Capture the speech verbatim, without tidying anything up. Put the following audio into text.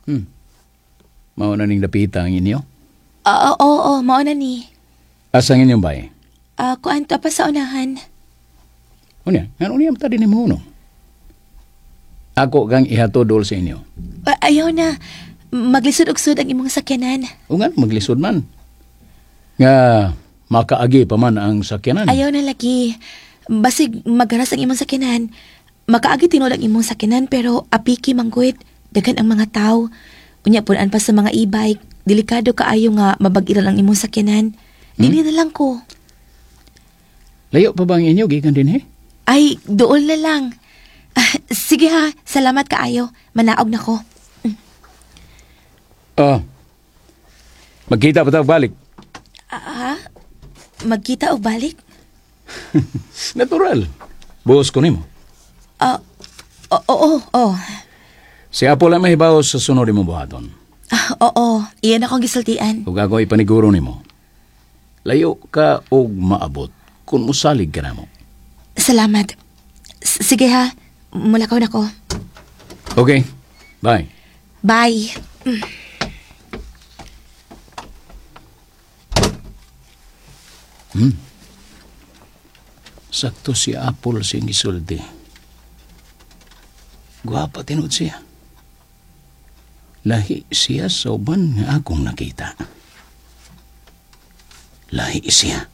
Hmm. Mao na ning dapita ang inyo? Oo, oo, oo, mao na ni. Asa ang inyong bay? Ah, kuan to pa sa unahan. Unya, ngano niya ta din mo no? Ako kang ihatod dol sa inyo. Ah, ayaw na. Maglisod og sud ang imong sakyanan. O nga, maglisod man. Nga, makaagi pa man ang sakyanan. Ayaw na lagi. Basig magaras ang imong sakyanan. Makaagi tinuod ang imong sakyanan pero apiki mangguit. Daghan ang mga tao. Unya punan pa sa mga e-bike. Delikado kaayo nga mabag-iral ang imong sakyanan. Dili na lang ko. Layo pa ba ang inyo, gikan din he? Ay, dool na lang. Ah, sige ha, salamat kaayo. Manaog na ko. Ah, magkita pa tayo balik. Ah, magkita og balik? Natural. Buhos ko nimo. Ah, oo, oo, oo. Si Apo lang mahibaw sa sunod nimo buhaton. Ah, oo, iyan akong gisultian. Ug ako ipaniguro nimo. Layo ka og maabot kung musalig ka namo. Salamat. S- Sige ha, mulakaw na ko. Okay, bye. Bye. Sakto si Apple siyang gisulti. Gwapa tinud siya. Lahi siya sa uban nga akong nakita. Lahi siya.